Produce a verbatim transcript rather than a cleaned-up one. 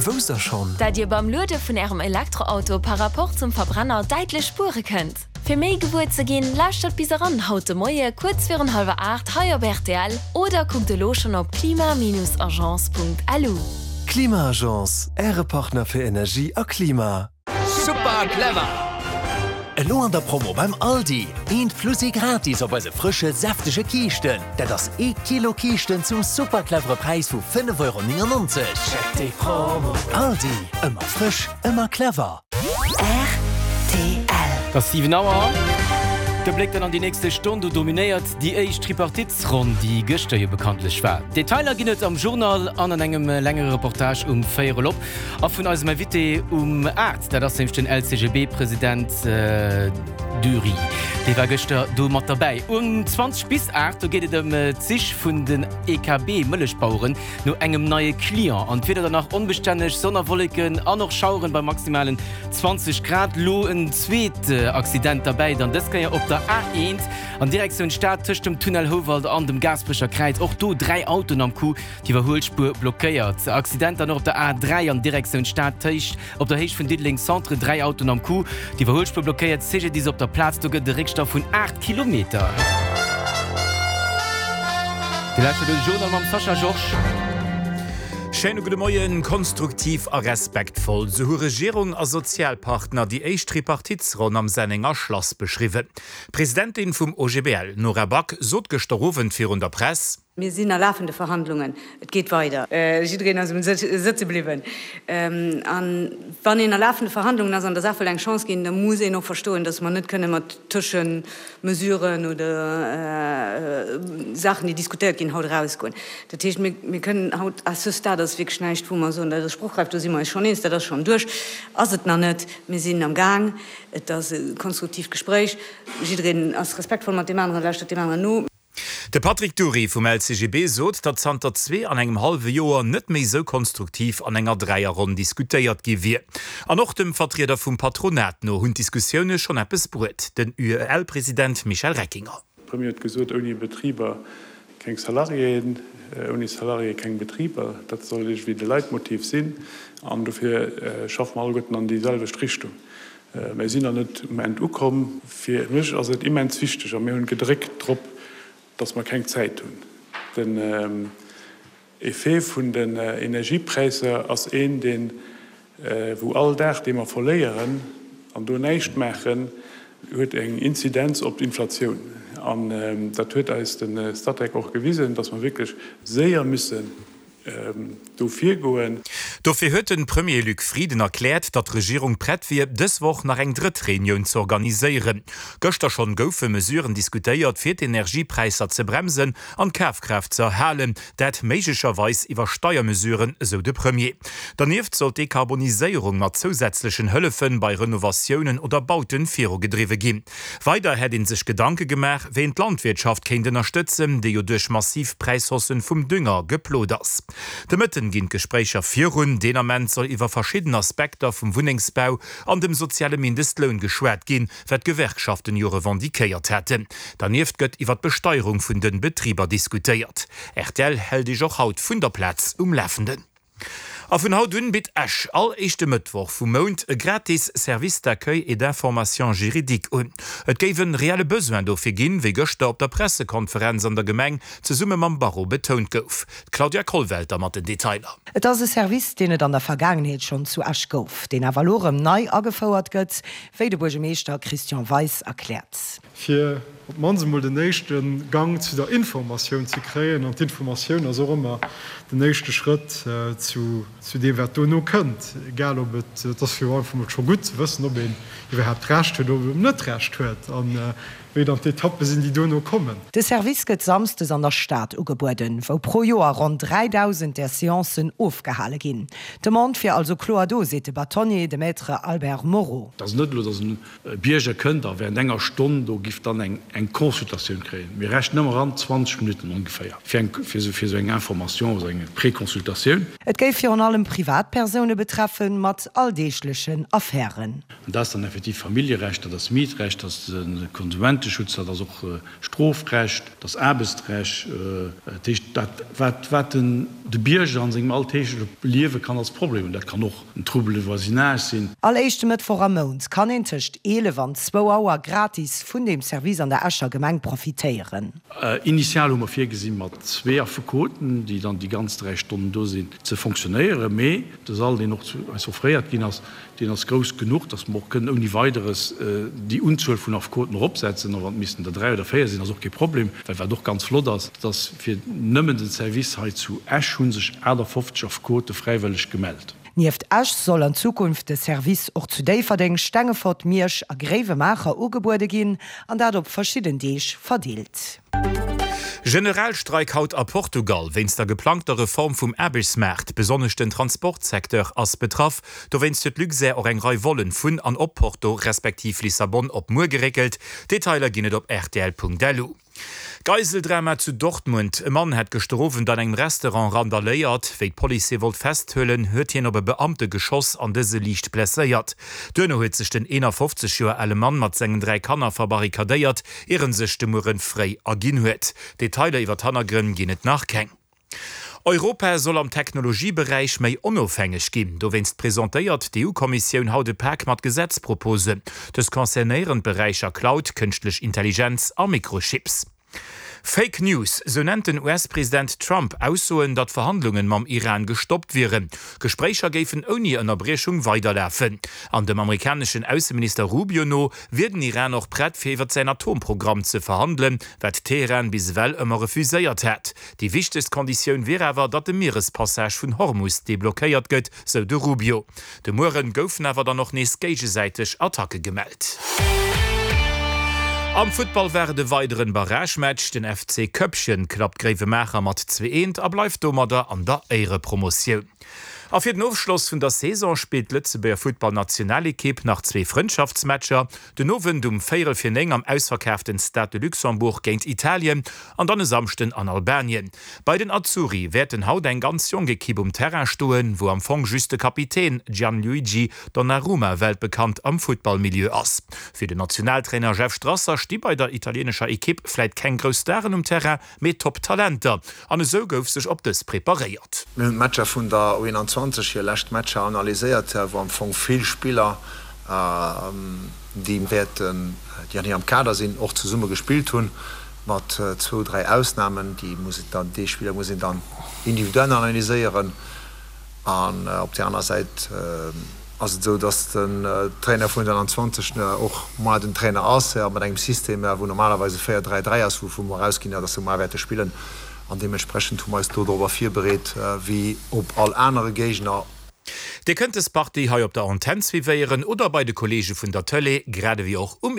Wousst der schonn? Dat Dir beim Luede vun Ärem Elektroauto par Rapport zum Verbrenner däitlech spuere kënnt? Fir méi gewuer ze ginn, lauschtert bis eran haut de Moie kuerz virun hallwer aacht hei op rtl oder kuckt elo schonn op klima-agence.lu. Klima-Agence, Äre Partner fir Energie a Klima. Super clever! Elo an der Promo beim Aldi, eent plus ee gratis op eise frësche, säftege Kiischten. Dat ass ee Kilo Kiischten zum super clevere Präis vu fënnef Euro néngennonzeg. Check déi Promo! Aldi, ëmmer frësch, ëmmer clever. Rtl. Et ass siwen Auer. De Bléck dann an déi nächste Stonn, do dominéiert déi éischt Tripartitesronn, déi gëschter jo bekanntlech war. Detailer ginn et am Journal an an engem längere Reportage um Véierel op. A vun eisem Invité um aacht, dat ass nämlech den L C G B-President Dury, dee war gëschter do mat derbäi. Um zwanzeg bis aacht, do geet et ëm d'Sich vun den E K B-Mëllechbaueren no engem neie Client. An d'Wieder dann nach onbestänneg, Sonn a Wolleken an och Schaueren bei maximalen zwanzeg Grad. Lo en zweet Accident derbäi, dann dës Kéier op der A eent an Direktioun Stad tëscht dem Tunnel Houwald an dem Gaasperecher Kräiz. Och do dräi Autoen am Coup, d'Iwwerhuelspuer blockéiert. Accident dann och op der A dräi an Direktioun Stad tëscht op der Héicht vun Diddeleng Centre, dräi Autoen am Coup, d'Iwwerhuelspuer blockéiert. C G D I S op der Plaz, do gëtt et e Réckstau vun aacht Kilometer. Dir lauschtert de Journal mam Sascha Georges. Schéine gudde Moien. Konstruktiv a respektvoll, sou hu Regierung a Sozialpartner déi éischt Tripartitsronn am Sennenger Schlass beschriwwen. D'Presidentin vum O G B L, Nora Back, sot gëschter Owend virun der Press: Mir sinn a lafende Verhandlungen, et geet weider. Jiddereen ass um sëtze bliwwen. A wann een a lafende Verhandlungen ass an der Saach wëll eng Chance ginn, da muss een och verstoen, datt mer net kënne mat Tëschemesuren oder Saachen, déi diskutéiert ginn, haut erausgoen. Dat heescht, mir kënnen haut, à ce stade ass wierklech näischt, wou mer soen, dat ass sprochräif, do si mer eis schonn eens, dat ass schonn duerch. Ass et nach net. Mir sinn am Gaang. Et ass e konstruktiivt Gespréich. Jiddereen ass respektvoll mat deem aneren, lauschtert deem aneren no. De Patrick Dury vum L C G B sot, datt zanter zwee an engem hallwe Joer net méi sou konstruktiv an enger Dräierronn diskutéiert gi wier. An och dem Vertrieder vum Patronat no hunn d'Diskussioune schonn eppes bruet, den U E L-President Michel Reckinger. De Premier huet gesot, ouni Betriber keng Salariéen, ouni Salariéë keng Betriber. Dat soll iergendwéi de Leitmotiv sinn an dofir schaffe mer alleguerten an déi selwecht Richtung. Mir sinn nach net um Enn ukomm. Fir mech ass et immens wichteg, a mir hunn gedréckt drop, dass mer keng Zäit hunn. Den Effet vun den Energiepräisser ass een, deen, wou all Dag, dee mer verléieren an do näischt maachen, huet eng Inzidenz op d'Inflatioun. An dat huet eis de Statec och gewisen, dass mer wierklech séier müssen do virgoen. Dofir huet de Premier Luc Frieden erkläert, datt d'Regierung prett wier, dës Woch nach eng drëtt Reunioun ze organiséieren. Gëschter schonn goufe Mesuren diskutéiert, fir d'Energiepräisser ze bremsen an d'Kafkraaft ze erhalen, dat méiglecherweis iwwer Steiermesuren, esou de Premier. Dernieft soll d'Dekarboniséierung mat zousätzlechen Hëllefe bei Renovatiounen oder Bauten virugedriwwe ginn. Weider hätt ee sech Gedanke gemaach, wéi een d'Landwirtschaft kéint ënnerstëtzen, déi jo duerch massiv Präishaussen vum Dünger geplot ass. De Mëtten ginn d'Gespréicher virun. Deen Ament soll iwwer verschidden Aspekter vum Wunnengsbau an dem soziale Mindestloun geschwat ginn, wat d'Gewerkschaften jo revendiquéiert hätten. Dernieft gëtt iwwer d'Besteierung vun de Betriber diskutéiert. R T L hält Iech och haut vun der Plaz um Lafenden. A vun haut un bitt Esch all éischte Mëttwoch vum Mount e gratis Service d'accueil et d'information juridique un. Et géif e reelle Besoin dofir ginn, wéi gëschter op der Pressekonferenz an der Gemeng zesumme mam Barreau betount gouf. D'Claudia Kollwelter mat den Detailer. Et ass e Service, deen et an der Vergaangenheet schonn zu Esch gouf, deen awer elo rëm nei agefouert gëtt, wéi de Buergermeeschter Christian Weis erkläert. Fir op d'mannst emol den éischte Gang zu der Informatioun ze kréien, an d'Informatioun ass och ëmmer den éischte Schrëtt zu zu deem wat dono kënnt, egal ob et, et ass jo einfach mol scho gutt ze wëssen, ob een iwwerhaapt Recht huet oder ob een net Recht huet a wéi dann d'Etappe sinn, déi dono kommen. De Service gëtt samsdes an der Stad ugebueden, wou pro Joer ronn dräidausend där Seancen ofgehale ginn. D'Demande wier also kloer do, seet de Bâtonnier, de Maître Albert Moreau. Et ass net elo, datt e Bierger kënnt a während enger Stonn do giff dann eng eng Consultatioun kréien. Mir rechnen ëmmer ran zwanzeg Minutten ongeféier fir eng fir esou eng Information, esou eng Préconsultatioun. Et géif virun allem Privatpersoune betreffen, mat alldeeglechen Affären. An dat ass dann effektiv Familljerecht, dat ass Mietrecht, dat ass de Konsumenteschutz. Konsumenteschutz, dat ass och Strofrecht, dat ass Aarbechtsrecht, dat heescht dat wat wat den de Bierger an sengem alltägleche Liewe kann als Problem hunn. Dat kann och en Trouble de voisinage sinn. All éischte Mëttwoch am Mount kann een tëscht eelef an zwou Auer gratis vun deem Service an der Escher Gemeng profitéieren. Initial hu mer virgesinn, mat zwee Affekoten, déi dann déi ganz dräi Stonnen do sinn, ze fonctionnéieren. Mee de Sall, deen och zu eis offréiert ginn ass, deen ass grouss genuch, datt mer och kënnen ouni Weideres déi Unzuel vun Affekoten eropsetzen. A wann et missten der dräi oder véier sinn, ass och kee Problem. Well wat och ganz flott ass, dat ass, fir nëmmen den Service hei zu Esch hu sech achtafofzeg Affekote fräiwëlleg gemellt. Nieft Esch soll an Zukunft de Service och zu Déifferdeng, Stengefort, Miersch a Gréiwemaacher ugebuede ginn, an dat op verschidden Deeg verdeelt. Generalstreik haut a Portugal wéinst der geplangter Reform vum Aarbechtsmaart. Besonnesch den Transportsecteur ass betraff. Dowéinst huet Luxair och eng Rei Vollen vun an op Porto respektiv Lissabon op muer geréckelt. Detailer ginn et op rtl.lu. Geiseldrama zu Dortmund, E Mann hätt gëschter Owend an engem Restaurant randaléiert. Wéi d'Police hie wollt festhuelen, huet hien op e Beamte geschoss an dëse liicht blesséiert. Duerno huet sech den eenafofzeg Joer ale Mann mat sengen dräi Kanner verbarrikadéiert, ier en sech de Muere fréi erginn huet. Detailer iwwer d'Hannergrënn ginn et nach keng. Europa soll am Technologieberäich méi onofhängeg ginn. Dowéinst presentéiert d'EU-Kommissioun haut e Pak mat Gesetzproposen. Dës concernéieren d'Beräicher Cloud, kënschtlech Intelligenz a Mikrochips. Fake News, sou nennt den U S-President Trump Aussoen, datt Verhandlungen mam Iran gestoppt wieren. Gespréicher géifen ouni Ënnerbriechung weiderlafen. An dem amerikaneschen Ausseminister Rubio no wier den Iran och prett fir iwwer säin Atomprogramm ze verhandelen, wat Teheran bis ewell ëmmer refuséiert hätt. Déi wichtegst Konditioun wier awer, datt de Mierespassage vun Hormus deblockéiert gëtt, sou de Rubio. De Mueren goufen awer dann och nees géigesäiteg Attacke gemellt. Am Futtball war et e weideren Barragematch, den F C Köppchen klappt Gréiwemaacher mat zwee eent a bleift domadder an der Éierepromotioun. A fir den Ofschloss vun der Saison spillt d'Lëtzebuerger Futtballnationalekipp nach zwee Frëndschaftsmatcher, den Owend um véierel fir néng am ausverkaaften Stade de Luxembourg géint Italien an dann e Samschden an Albanien. Bei den Azzurri wäerten haut eng ganz jonk Ekipp um Terrain stoen, wou am Fong just de Kapitän Gianluigi Donnarumma weltbekannt am Futtballmilieu ass. Fir den Nationaltrainer Jeff Strasser sti bei der italieenescher Ekipp vläit keng grouss Staren um Terrain, mee Top-Talenter. An esou gouf sech op dës preparéiert. Mir hunn d'Matcher vun der U einundzwanzeg, hir lescht Matcher analyséiert, wou am Fong vill Spiller, déi wäerten, déi an hirem Kader sinn, och zesumme gespillt hunn, mat zwou, dräi Ausnamen. Déi muss een dann, déi Spiller muss een dann individuell analyséieren. An op där aner Säit ass et esou, datt den Trainer vun der einundzwanzeg och moar den Trainer ass, mat engem System, wou normalerweis e véier dräi dräi ass, wouvu mer ausginn, datt se moar wäerte spillen. An deementsprechend hu mer eis do dorobber virbereet, wéi op all anere Géigner. Dir kënnt des Partie hei op der Antenn suivéieren oder bei de Kollege vun der Tëlee, grad ewéi och um.